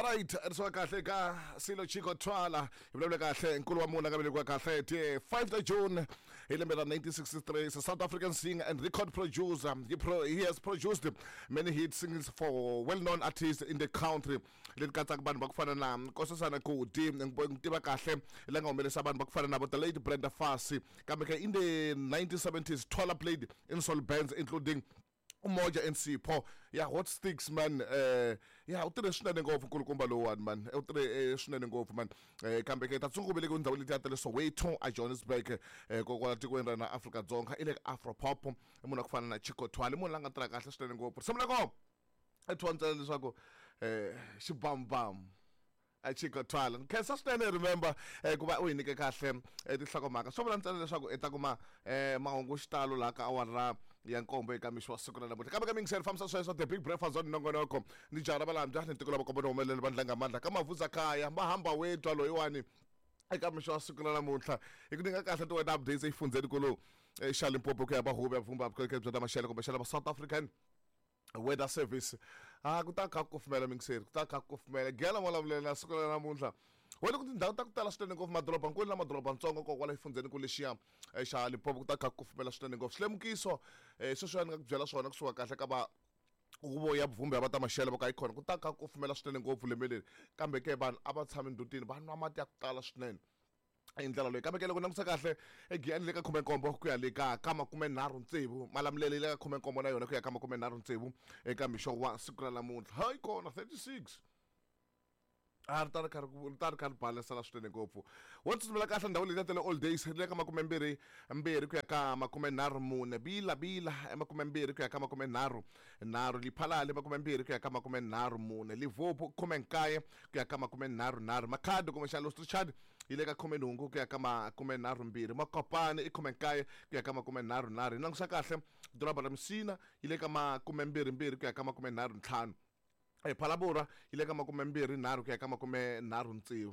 Alright, ri kahle ka Silo Chicco Twala. Hi vulavula kahle nkulu wa munhu a nga velekiwa kahle ti 5 ta June hi lembe ra 1963. Is a South African singer and record producer. He has produced many hit singles for well-known artists in the country. Leti katsaka vanhu va ku fana na Nkosazana Godi, ni tiva kahle la nga humelerisa vanhu va ku fana na vo the late Brenda Fassie. Kambe ke in the 1970s, Twala played in soul bands including Umoja and Sipho. Yeah, Hot Sticks, man. Yeah, u tirhe swinene ngopfu nkulukumba lowuwani, man. U tirhe swinene ngopfu, man. Kambe ke tatsungu velekiwe ndhawu letiya ta le Soweto a Johannesburg, kokwala tikweni ra na Afrika-Dzonga, i le ka Afro Pop. I munhu wa ku fana na Chicco Twala, i munhu la nga tirha kahle swinene ngopfu. Risimu ra kona i thiwa ntsena leswaku xibambamu a Chicco Twala. Ni khensa swinene, remember, ku va u hi nyike kahle tinhlokomhaka. Swo vula ntsena leswaku i ta kuma mahungu xitalo laha ka awara ya nkombo eka mixo wa siku ra namuntlha. Kambe ka mingiseri fambisa sweswo The Big Breakfast on nongonoko ni jaha ra valambya ni tiko la vakomba ni humelele vandla nga mandla ka mavuza kaya mahamba wetwa loyiwani eka mixo wa siku ra namuntlha hi ku nyika kahle ti-weather updates exifundzheni kulu xa Limpopo ku ya va huvo ya vumba vukorhokeri bya ta maxelo kumbexana va South African Weather Service. A ku ta kha ku kufumela, mingiseri, ku ta kha ku kufumela gela molavulela siku ra namuntlha wena ku tindhawu ta ku tala swinene ngopfu, madorobankulu na madorobantsongo kokwala exifundzheni ku lexiya xa Limpopo, ku ta kha ku kufumela swinene ngopfu. Swilemukiso sweswiya ni nga ku byela swona kusuka kahle ka va huvo ya vuvumbi ya va ta maxelo va ka yi kona, ku ta kha ku kufumela swinene ngopfu lembe leri. Kambe ke vanhu a va tshami ndhutini, va nwa mati ya ku tala swinene hi ndlela leyi. Kambe ke loko langutisa kahle eGiyani le ka 17 ku ya le ka 36, Malamulele le ka 17 na yona ku ya ka 36 eka mixo wa siku ra namuntlha. Hayi kona 36 a ri ta ri kha ri ta ri kha ri balesela swinene ngopfu. Wo tsutsumela kahle ndhawu leyi ta le Old Days ri le ka 22 ku ya ka 34, Bila Bila 20 ku ya ka 33, Liphalale 20 ku ya ka 34, Livopo 19 ku ya ka 33, Makhado kumbexana Los Richard yi le ka 18 ku ya ka 32, Makopane i 19 ku ya ka 33. Hi langusa kahle doroba ra Musina yi le ka 22 ku ya ka 35, Phalaborwa yi le ka 23 ku ya ka 36,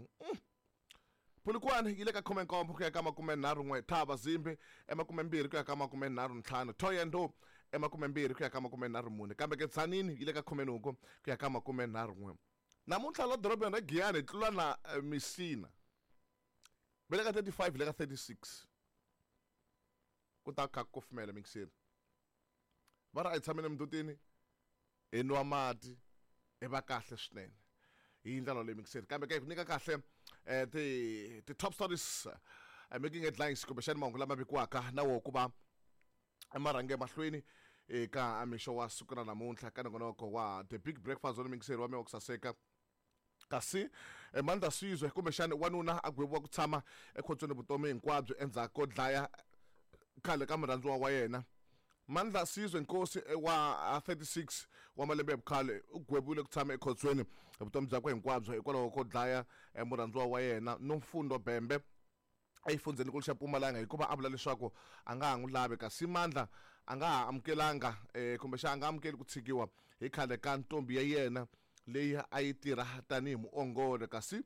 Polokwane yi le ka 17 ku ya ka 31, Thaba Zimbi 20 ku ya ka 35, Thohoyandou 20 ku ya ka 34, kambe ke Tzaneen yi le ka 18 ku ya ka 31. Namuntlha la dorobeni ra Giyani hi tlula na Messina va le ka 35 le ka 36, ku ta kha ku kufumela mixeri. Va ri a hi tshameni emindhutini hi nwa mati hi va kahle swinene hi ndlela leyi mixeri. Kambe ke ku nyika kahle ti top stories making headlines kumbexani mahungu lama vikiwaka na wo ku va marhange emahlweni eka mixo wa siku ra namuntlha ka nongonoko wa The Big Breakfast wa mingiseri wa mina wa ku saseka. Kasi Mandla Sizwe kumbexani wanuna a gweviwa ku tshama ekhotsweni vutomi hinkwabyo endzhaku ko dlaya khale ka murhandziwa wa yena. Mandla Sizwe Nkosi wa 36 wa malembe ya vukhale u gweviwile ku tshama ekhotsweni vutomi byakwe hinkwabyo hikwalaho ko dlaya murhandziwa wa yena Nomfundo Bembe exifundzhenikulu xa Mpumalanga hikuva a vula leswaku a nga ha n'wi lavi. Kasi Mandla a nga ha amukelanga kumbexana a nga amukeli ku tshikiwa hi khale ka ntombi ya yena leyi a yi tirha tanihi muongori. Kasi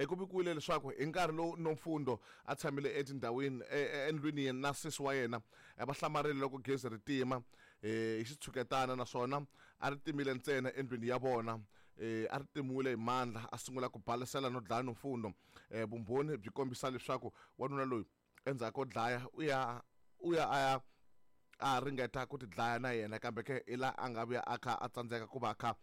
ku vikiwile leswaku hi nkarhi lowu Nomfundo a tshamile etindhawini endlwini na sesi wa yena, va hlamarile loko gezi ri tima hi xitshuketana, naswona a ri timile ntsena endlwini ya vona. A ri timiwile hi Mandla, a sungula ku balesela no dlaya Nomfundo. Vumbhoni byi kombisa leswaku wanuna loyi endzhaku ko dlaya u ya u ya a ya a ringeta ku tidlaya na yena, kambe ke hi laha a nga vuya a kha a tsandzeka ku va a kha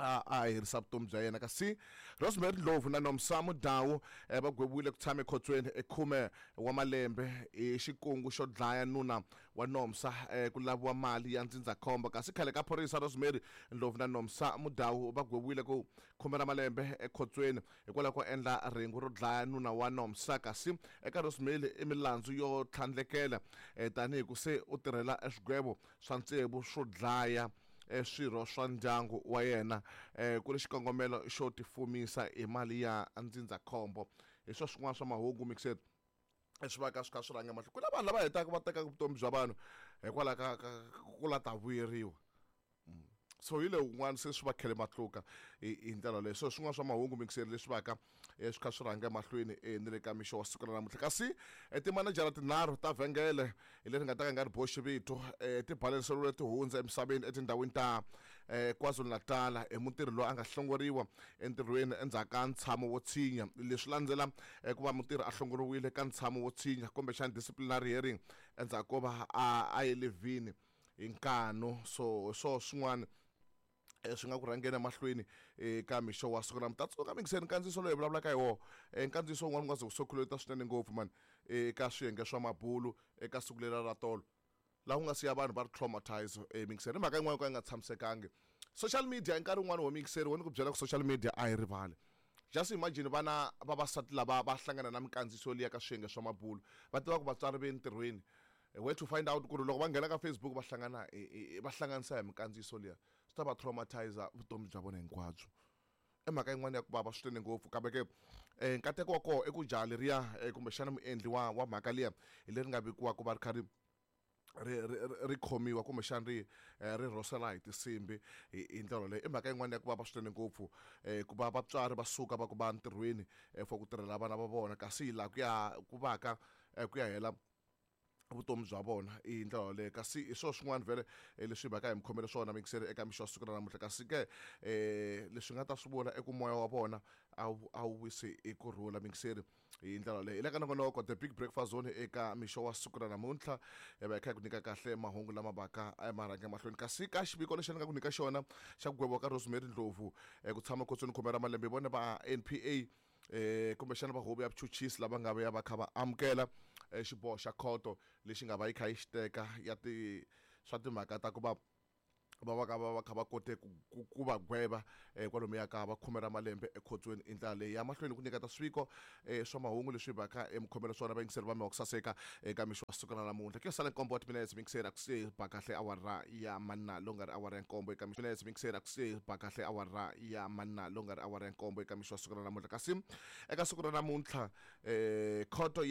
a herisa vutomi bya yena. Kasi Rosemary Ndlovu na Nomsa Mudau va gweviwile ku tshama ekhotsweni ekhume wa malembe hi xikungu xo dlaya nuna wa Nomsa ku laviwa mali ya ndzindzakhombo. Kasi khale ka phorisa Rosemary Ndlovu na Nomsa Mudau va gweviwile ku khume ra malembe ekhotsweni hikwalaho ko endla rhengu ro dlaya nuna wa Nomsa. Kasi eka Rosemary i milandzu yo tlhandlekela tanihi ku se u tirhela swigwevo swa tsevu swo dlaya swirho swa ndyangu wa yena ku ri xikongomelo xo tifumisa hi mali ya ndzindzakhombo. Hi swo swin'wana swa mahungu mixed swi va ka swi kha swi rhanga mahlweni. Ku na vanhu lava hetaka va tekaka vutomi bya vanhu hikwalaho ka ku la ta vuyeriwa. So hi le un'wana se swi va khele matluka hi ndlela leyo. So swin'wana swa mahungu mixeri leswi va ka swi kha swi rhanga mahlweni ni le ka mixo wa siku ra namuntlha. Kasi timanejara tinharhu ta vhengele leri nga ta ka nga ri boxi vito ti baleseriwile ti hundza emisaveni etindhawini ta KwaZulu-Natal hi mutirhi loyi a nga hlongoriwa entirhweni endzhaku ka ntshamo wo tshinya. Leswi landzela ku va mutirhi a hlongoriwile ka ntshamo wo tshinya kumbexana disciplinary hearing endzhaku ko va a ye levhini hi nkanu. So swo swin'wana swi nga ku rhangeni emahlweni eka mixo wa siku namuntlha. Tsundzuka mingiseni nkandziyiso loyi hi vulavulaka hi wona, nkandziyiso wun'wana wu nga ze wu sokhuleta swinene ngopfu mani eka swiyenge swa mabulu eka siku leriya ra tolo, laha ku nga siya vanhu va ri traumatize mingiseri. I mhaka yin'wana yo ka yi nga tshamisekangi. Social media hi nkarhi wun'wani wo mingiseri wo ni ku byela ku social media a yi rivali. Just imagine vana vavasati lava va hlangana na minkandziyiso liya ka swiyenge swa mabulu, va tiva ku vatswari ve entirhweni, where to find out ku ri loko va nghena ka Facebook va hlangana va hlanganisa hi minkandziyiso liya, swi ta va traumatize vutomi bya vona hinkwabyo. I mhaka yin'wana ya ku vava swinene ngopfu. Kambe ke nkateko wa kona i ku jaha leriya kumbexana muendli wa mhaka liya hi leri nga vekiwa ku va ri kha ri ri khomiwa kumbexana ri rhosela hi tinsimbhi hi ndlela leyi. I mhaka yin'wana ya ku vava swinene ngopfu ku va vatswari va suka va ku va ntirhweni for ku tirhela vana va vona, kasi laha ku ya ku va ka ku ya hela vutomi bya vona hi ndlela yaleyo. Kasi hi swona swin'wana vhele leswi hi va ka hi mi khomele swona mingiseri eka mixo wa siku ra namuntlha. Kasi ke leswi nga ta swi vula i ku moya wa vona a wu wisi hi kurhula mingiseri hi ndlela yaleyo. Hi le ka nongonoko The Big Breakfast Zone eka mixo wa siku ra namuntlha, hi va hi kha hi ku nyika kahle mahungu lama vaka ma rhanga emahlweni. Kasi ka xiviko lexi ni nga ku nyika xona xa ku gweviwa ka Rosemary Ndlovu ku tshama khotsweni khume ra malembe, hi vone va NPA kumbexana va huvo ya vuchuchisi lava nga vuya va kha va amukela xiboho xa khoto lexi nga va yi kha yi xi teka ya ti swa timhaka ta ku va va va ka va va kha va kote ku va gweva kwalomuya ka va khume ra malembe ekhotsweni. I ndlela leyi ya mahlweni ku nyiketa swiviko swa mahungu leswi va ka emikhomelo swona vayingiseri va mi wa ku saseka eka mixo wa siku ra namuntlha. Ku yo sala nkombo wa timinetse mingiseri a ku se ba kahle awara ya manna lowu nga ri awara ya nkombo eka mixo minetse mingiseri a ku se ba kahle awara ya manna lowu nga ri awara ya nkombo eka mixo wa siku ra namuntlha. Kasi eka siku ra namuntlha khoto ya